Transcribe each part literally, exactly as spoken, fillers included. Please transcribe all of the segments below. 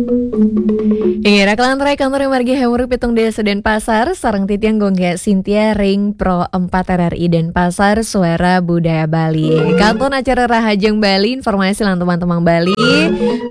Inggih, raka lan rai, kantor margi Hemuru pitung dasa Denpasar, sareng titiang Gung Gé Sintia ring Pro empat R R I Denpasar, Suara Budaya Bali. Kantun acara Rahajeng Bali, informasi lan tembang-tembang Bali,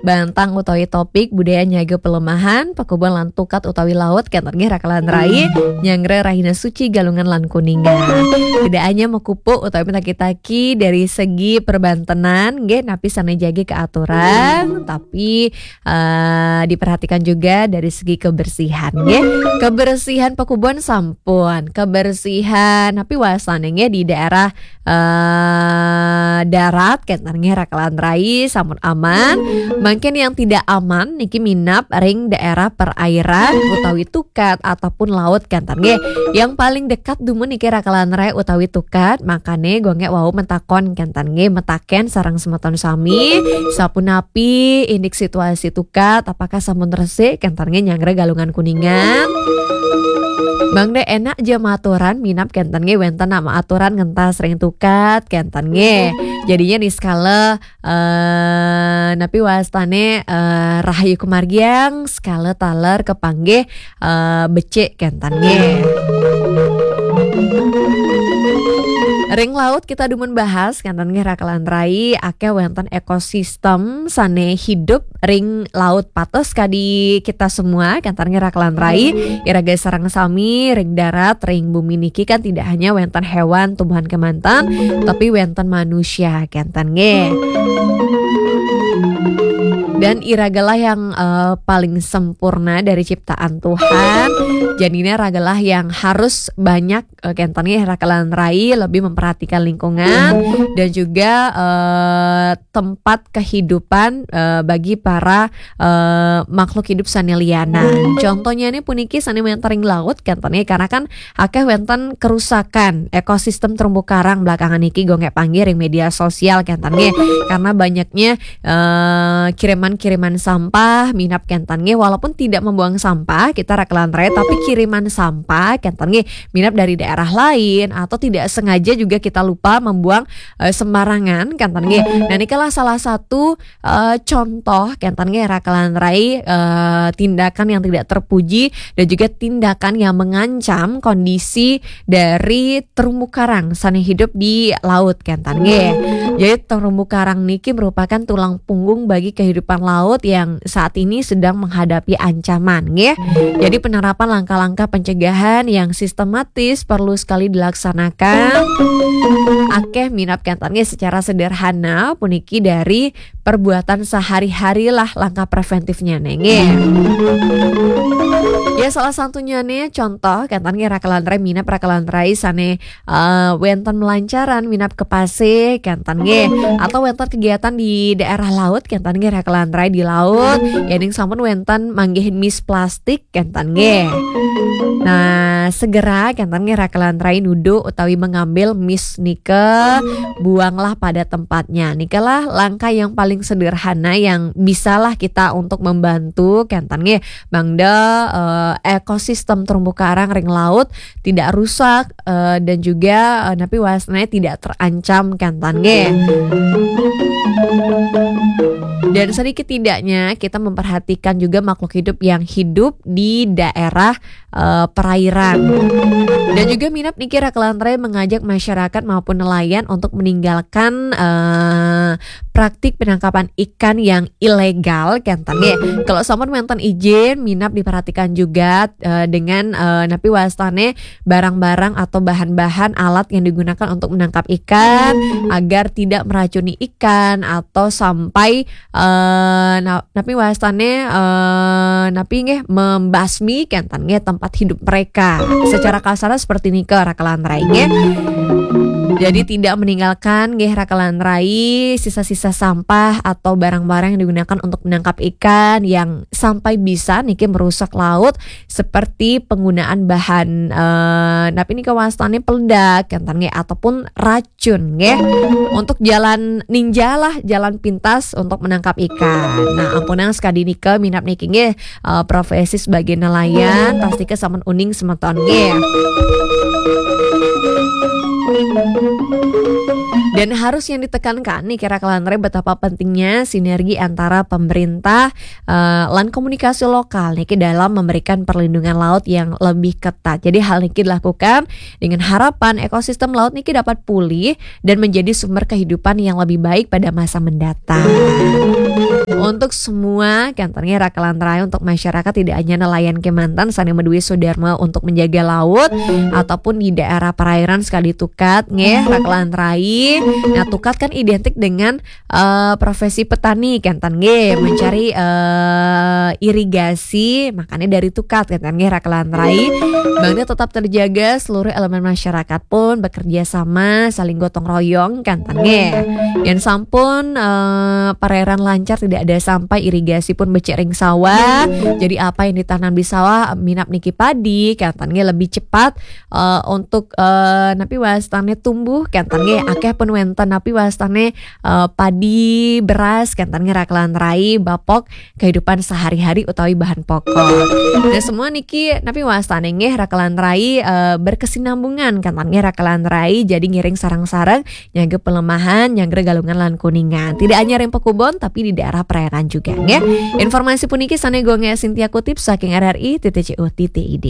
bantang utawi topik budaya nyaga pelemahan, pakubon lan tukat utawi laut, kénten nggih raka lan rai, nyanggra rahina suci Galungan lan Kuningan. Tidak hanya makupuk utawi mataki-taki dari segi perbantenan, nggih, napi sané jagi kaaturan, tapi eh, diperhatikan juga dari segi kebersihan, nggih. Kebersihan pakubon sampun, kebersihan napi wastané nggih di daerah eh, darat, kénten nggih raka lan rai sampun aman. Mangkin yang tidak aman niki minab ring daerah perairan utawi tukat ataupun laut, kénten nggih. Yang paling dekat dumun niki raka lan rai utawi tukat, makané Gung Gé wau matakon, kénten nggih, matakén sareng semeton sami, sapunapi indik situasi tukat, apakah sampun resik, kénten nggih, nyanggra Galungan Kuningan? Mangda enak ja maaturan, minab kénten nggih wénten nak maaturan ngentas ring tukat, kénten nggih. Jadinya niskala eh, napi wastané eh, rahayu kamargiang, skala taler kapanggih eh, becik, kénten nggih. Ring laut kita dumun bahas, kénten nggih raka lan rai, akéh wénten ekosistem sané hidup ring laut. Patos kadi kita semua, kénten nggih raka lan rai, iraga sareng sami ring darat, ring bumi niki kan tidak hanya wénten héwan, tumbuhan kémanten, tapi wénten manusia, kénten nggih. Dan iragalah yang eh, paling sempurna dari ciptaan Tuhan. Jadinya ragalah yang harus banyak eh, kénten nggih raka lan rai lebih memperhatikan lingkungan dan juga eh, tempat kehidupan eh, bagi para eh, makhluk hidup sané lianan. Contohnyané puniki sané wénten ring laut, kénten nggih, karena kan akéh wénten kerusakan ekosistem terumbu karang belakangan niki, Gung Gé, panggih ring media sosial, kénten nggih. Karena banyaknya eh, kiriman-kiriman sampah, minab, kénten nggih, walaupun tidak membuang sampah kita raka lan rai, tapi kiriman sampah, kénten nggih, minab dari daerah lain atau tidak sengaja juga kita lupa membuang eh, sembarangan, kénten nggih. Nah, nikalah salah satu eh, contoh, kénten nggih, raka lan rai, eh, tindakan yang tidak terpuji dan juga tindakan yang mengancam kondisi dari terumbu karang sané hidup di laut, kénten nggih. Jadi terumbu karang niki merupakan tulang punggung bagi kehidupan laut yang saat ini sedang menghadapi ancaman, nggih. Jadi penerapan langkah-langkah pencegahan yang sistematis perlu sekali dilaksanakan. Akéh minab, kénten nggih, secara sederhana puniki dari perbuatan sehari-hari lah langkah preventifnya nggih. Ya, salah satunya nih contoh, kénten nggih, raka lan rai, minab raka lan rai sané eh, wénten melancaran minab ka pasih, kénten nggih, atau wénten kegiatan di daerah laut, kénten nggih, raka lan rai, di laut, yéning sampun wénten manggihin mis plastik, kénten nggih. Nah, segera, kénten nggih, raka lan rai, nuduh utawi mengambil mis nika, buanglah pada tempatnya. Nikalah langkah yang paling sederhana yang bisalah kita untuk membantu, kénten nggih, mangda eh, ekosistem terumbu karang ring laut tidak rusak eh, dan juga eh, napi wastané tidak terancam, kénten nggih. Dan sedikit tidaknya kita memperhatikan juga makhluk hidup yang hidup di daerah eh, perairan. Dan juga minab niki raka lan rai mengajak masyarakat maupun nelayan untuk meninggalkan eh, praktik penangkapan ikan yang ilegal, kénten nggih. Kalau sampun wénten izin, minab diperhatikan juga eh, dengan eh, napi wastané barang-barang atau bahan-bahan alat yang digunakan untuk menangkap ikan agar tidak meracuni ikan atau sampai eh, na- napi wastané eh, napi nggih, membasmi, kénten nggih, tempat hidup mereka. Secara kasar seperti nika, raka lan rai nggih. Jadi tidak meninggalkan nggih, raka lan rai, sisa-sisa sampah atau barang-barang yang digunakan untuk menangkap ikan yang sampai bisa niki merusak laut, seperti penggunaan bahan eh, napi nika wastané, peledak, kénten nggih, ataupun racun nggih, untuk jalan ninja lah, jalan pintas untuk menangkap ikan. Nah, ampunang sekadi nika, minab niki nggih eh, profesi sebagai nelayan, pastika sampun uning semeton nggih. Dan harus yang ditekankan nih, kira-kira betapa pentingnya sinergi antara pemerintah, eh, lan komunikasi lokal nih, ke dalam memberikan perlindungan laut yang lebih ketat. Jadi hal ini dilakukan dengan harapan ekosistem laut nih dapat pulih dan menjadi sumber kehidupan yang lebih baik pada masa mendatang. Untuk semua, kan, nggih, raka lan rai, untuk masyarakat, tidak hanya nelayan Kalimantan, sané madué sudarma untuk menjaga laut ataupun di daerah perairan, sekali tukat nggih, raka lan rai. Nah, tukat kan identik dengan eh, profesi petani, kan, nggih, mencari eh, irigasi, makanya dari tukat, kan, nggih, raka lan rai. Bangda tetap terjaga, seluruh elemen masyarakat pun bekerja sama, saling gotong royong, kan, nggih. Yén sampun eh, perairan lancar, tidak ada sampah, irigasi pun becik ring sawah. Jadi apa yang ditanam di sawah, minab niki padi, kan, nggih, lebih cepat eh, untuk eh, napi wastané tumbuh, kan, nggih, akéh pun wénten napi wastané eh, padi, beras, kan, nggih, raka lan rai, bapok kehidupan sehari-hari utawi bahan pokok. Nah, semua niki napi wastané nggih, raka lan rai, eh, berkesinambungan, kan, nggih, raka lan rai, jadi ngiring sareng-sareng nyanggra Pelemahan, nyanggra Galungan lan Kuningan. Tidak hanya ring pakubon, tapi di daerah perairan juga nggih. Informasi puniki sané Gung Sintia kutip saking R R I titik C O titik I D.